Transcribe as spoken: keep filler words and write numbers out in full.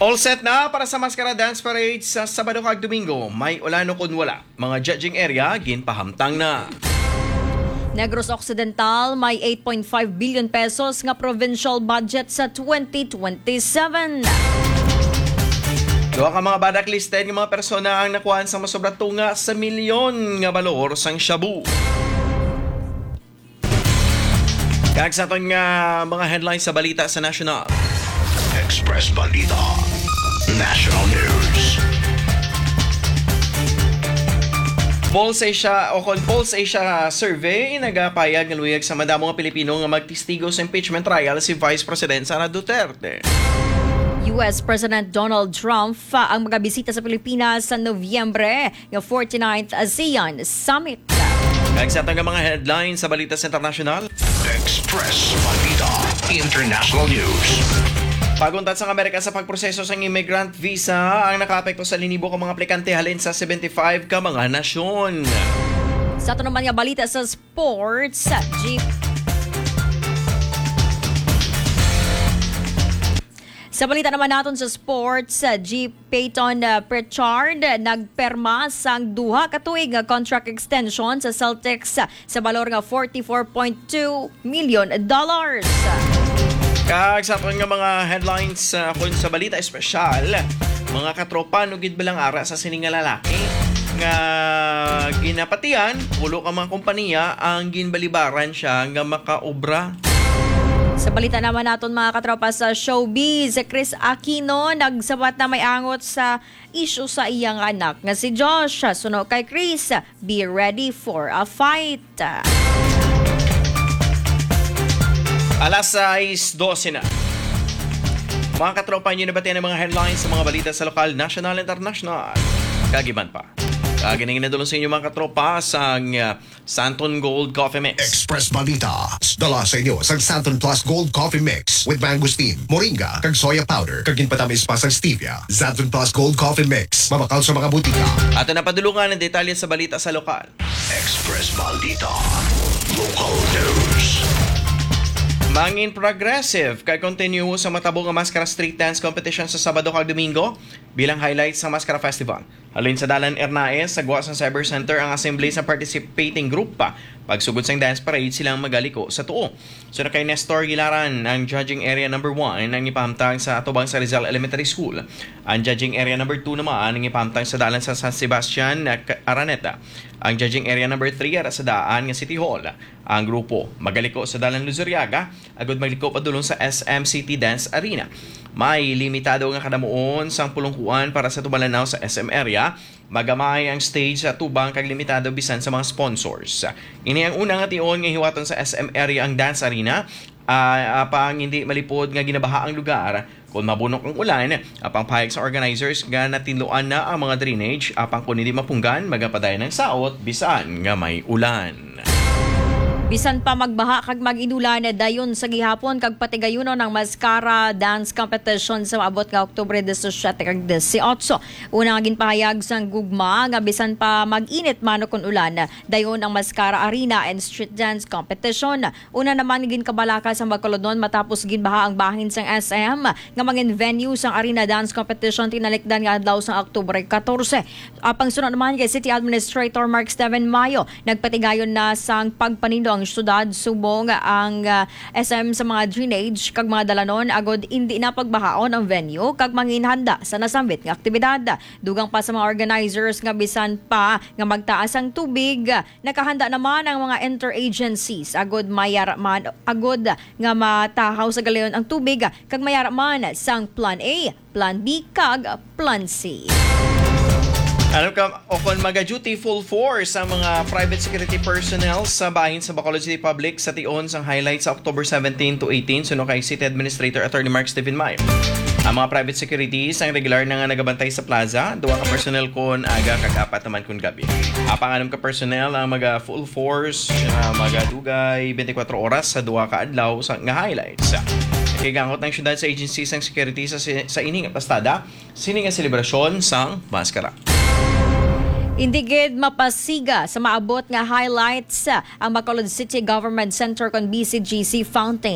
All set na para sa Maskara Dance Parade sa Sabado kag Domingo. May ulan o kon wala, mga judging area ginpahamtang na. Negros Occidental may eight point five billion pesos nga provincial budget sa twenty twenty-seven. Duha ka mga blacklisted nga mga persona ang nakuhaan sa masobra tunga sa milyon nga balor sang shabu. Kag sa aton nga mga headlines sa balita sa national. Express Balita National News. Pulse Asia o kon Pulse Asia Survey nagapayag nga luyag sa madamo nga Pilipino nga magtestigo sa impeachment trial si Vice President Sara Duterte. U S President Donald Trump ang magabisita sa Pilipinas sa Nobyembre nga forty-ninth ASEAN Summit. Kag sa aton nga mga headlines sa balita sa internasyonal. Express Balita International News. Pag-untat sang Amerika sa pagproseso sang immigrant visa ang nakaapekto sa linibo ka mga aplikante halin sa seventy-five ka mga nasyon. Sa aton naman nga balita sa sports, Jeep. Sa balita naman naton sa sports, uh, Jeep Payton, uh, Pritchard, uh, nagperma sang duha ka tuig nga contract extension sa Celtics, uh, sa balor nga forty-four point two million dollars. Kag sa aton nga mga headlines, uh, kun sa balita espesyal, mga katropa, ano gid ba lang ara sa sini nga lalaki nga ginapatian, pulo ka mga kompanya ang ginbalibaran siya nga makaobra. Sa balita naman naton, mga katropa, sa showbiz, si Kris Aquino nagsabat na may angot sa isyu sa iya nga anak nga si Josh. Suno kay Kris, be ready for a fight. Alas sais dose na. Mga katropa, inyo nabatian ang mga headlines sa mga balita sa lokal, national, international, kag iban pa. Kag ining nadulong sa inyo, mga katropa, sang, uh, Santon Gold Coffee Mix. Express Balita. Dala sa inyo sang Santon Plus Gold Coffee Mix with mangosteen, moringa, kag soya powder, kag ginpatamis pa sang stevia. Santon Plus Gold Coffee Mix. Mabakal sa mga butika. Ato na padulungan ang detalye sa balita sa lokal. Express Balita. Local News. Mangin progressive kag continue sa matabo nga Maskara Street Dance Competition sa Sabado kag Domingo bilang highlight sa Maskara Festival. Halin sa Dalan Ernaez, sa gwa sang Cyber Center ang assembly sa participating group. Pagsugod sang dance parade, sila ang magaliko sa tuo. Sunod kay Nestor Gilaran, ang judging area number one ang ipahamtang sa atubang sa Rizal Elementary School. Ang judging area number two naman ang ipahamtang sa dalan sa San Sebastian, K-, Araneta. Ang judging area number three ara sa daan nga City Hall. Ang grupo magaliko sa dalan Luzuriaga agud magliko padulong sa S M City Dance Arena. May limitado nga kadamuon sang pulungkuan para sa tumalanaw sa S M area. Magamay ang stage sa atubang kag limitado bisan sa mga sponsors. Ini ang una nga tion nga hiwaton sa S M area ang dance arena, ah, apang hindi malipod nga ginabaha ang lugar kon mabunok ang ulan. Apang pahayag sa organizers nga natinluan na ang mga drainage, apang kon hindi mapunggan, magapadayon ang saot bisan nga may ulan. Bisan pa magbaha kag mag-inulan, dayon sa gihapon kag patigayunon ang Maskara Dance Competition sa maabot nga Oktubre disisiete kag dieciocho. Una nga ginpahayag sang gugma nga bisan pa mag-init man o kon ulan, dayon ang Maskara Arena and Street Dance Competition. Una naman nga ginkabalaka sang Bacolodnon matapos ginbaha ang bahin sang S M nga mangin venue sang Arena Dance Competition tinalikdan nga adlaw sang Oktubre catorce. Apang suno naman kay City Administrator Mark Steven Mayo, nagpatigayon na sang pagpanindo ang syudad subong ang, ah, S M sa mga drainage kag mga dalanon agud indi na pagbahaon ang venue kag manginhanda sa nasambit nga aktibidad. Dugang pa sa mga organizers nga bisan pa nga magtaas ang tubig, nakahanda naman ang mga interagencies agud mayara man, agud nga matahaw sa galayon ang tubig kag mayara man sang Plan A, Plan B, kag Plan C. Alam ka, o kon maga-duty full force ang mga private security personnel sa bahin sa Bacolod City Public sa tion sang highlight sa October seventeen to eighteen, suno kay City Administrator Attorney Mark Steven May. Ang mga private securities ang regular na nga nagabantay sa plaza, duha ka personnel kon aga kag apat naman kon gabi. Apang anom ka personnel ang maga full force, ah, magadugay twenty-four oras sa duha ka adlaw sa, nga highlights. Kay gangot ang syudad sa agency sang security sa, sa ini nga pastada, sini nga selebrasyon sang maskara. Indi gid mapasiga sa maabot nga highlights ang Bacolod City Government Center kon B C G C Fountain.